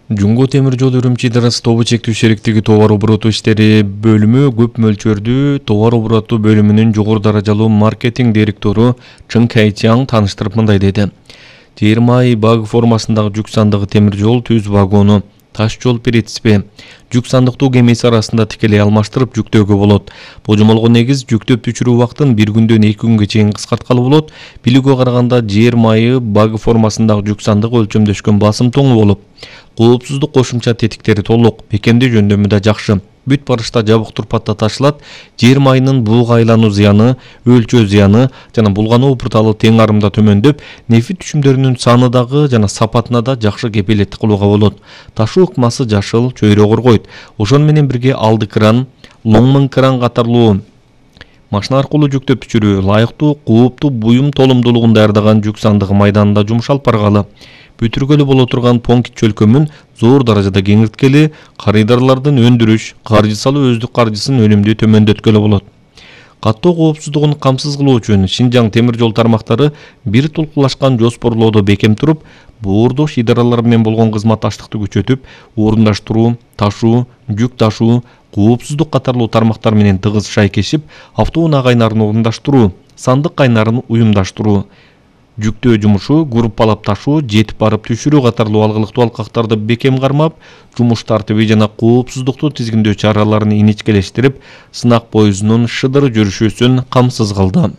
Жумго темир жол Үрүмчи Дарас тобу чектүү шериктиги товар обороту иштери бөлүмү көп мөлчөрдүү товар обороту бөлүмүнүн жогору даражалуу маркетинг директору Чын Кайчаң тааныштырып мындай деди. 20 ай баг формасындагы жүк сандыгы темир жол түз вагону таш жол принципи жүк сандыктуу кемеси арасында тикелей алмаштырып жүктөөгө болот. Божомолго негиз жүктөп түшүрүү убактын 1 күндөн 2 күнгө чейин кыскарткалы болот. Билүүгө караганда 20 айы баг формасындагы жүк сандыгы өлчөмдөшкөн басым тоңу болуп, коопсуздук кошумча тетиктери толук, бекемдүү жөндөмү да жакшы. Бүт барышта жабык турпатта ташылат. 20 айынын булга айлануу зыяны, өлчөө зыяны жана булгануу упурталы тең арымда төмөндөп, нефит түшүмдөрүнүн саны дагы жана сапатына да жакшы кепилеттик кылууга болот. Ташуу ыкмасы жашыл, чөйрө коргойт. Ошону менен бирге алды кран, лоңмун кран катарлуу машина аркылуу жүктөп түшүрүү, лайыктуу, кооптуу буюм толумдуулугун даярдаган жүк сандыгы майданында жумшалып баргалы. Бүтүргөлү боло турган понкит чөлкөмүн зор даражада кеңирткели, карыдарлардын өндүрүш, каржы салуу өздүк каржысын өнүмдүү төмөндөткөлү болот. Каттоо коопсуздугун камсыз кылуу үчүн Шинжаң темир жол тармактары бир тулкулашкан жоспорлоодо бекем туруп, боордош идаралар менен болгон кызматташтыкты күчөтүп, орундаштыруу, ташуу, жүк ташуу, коопсуздук катарлуу тармактар менен тыгыз шайкешип, автоунаа кайнарын орундаштыруу, сандык кайнарын уюмдаштыруу, жүктөө жумушу, группалап ташуу, жетип барып түшүрүү катарлуу алгылыктуу алкактарды бекем кармап, жумуш тартиби жана коопсуздукту тизгиндөө чараларын иничкелештирип, сынак поездунун шыдыр жүрүшүүсүн камсыз кылды.